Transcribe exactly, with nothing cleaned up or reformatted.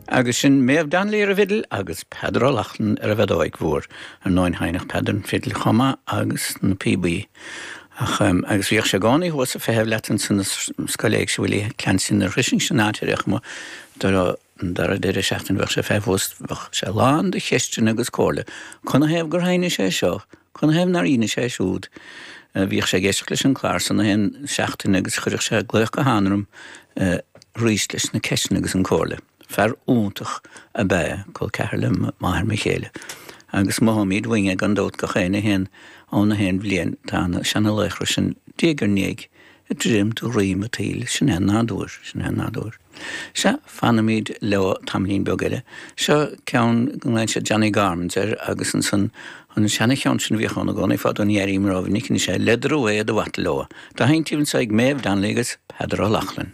Agus sin Méabh Donnelly ar an bhfidil agus Peadar O'Loughlin ar an bhfeadóig mhór ar ndóigh sheinneadh Peadar an fidil chomh maith agus na píobaí. Ach um, agus bhíodh sé i gcónaí thuas ag feitheamh leat ansan scoil éigse Willie Clancy na ris sin áitéach mo an dara deireadh seachtaine bheadh sé ag feitheamh thuas bheadh sé lán de cheisteanna agus comhairle. Canathaobh gur sheinnis sé seo, Canathaobh nár sheinnis sé siúd. Bhíodh sé ag éisteacht leis an clár san aon seachtain agus chuireadh sé glaoch gutháin orm arís leis na ceisteanna agus an comhairle. Fear iontach ab ea col ceathar le máthair mo chéile. Agus mothaímid uainn é gan dabht gach aon a haon ann a haon bhliain tá na seanalaochra sin diaidh ar ndiaidh ag druidim de dhroim an tsaoil, sin é an nádúr, sin é an nádúr. Sea, fanfaimid leo tamaillín beag eile. Seo ceann go nglaonn siad Johnny Gormans air agus ansan an seana-cheann sin a bhíodh ann i gcónaí fadó ní airím rómhinic anois é Leather Away the Waterloo. Dá sheinntí anso ag Méabh Donnelly agus Peadar O'Loughlin.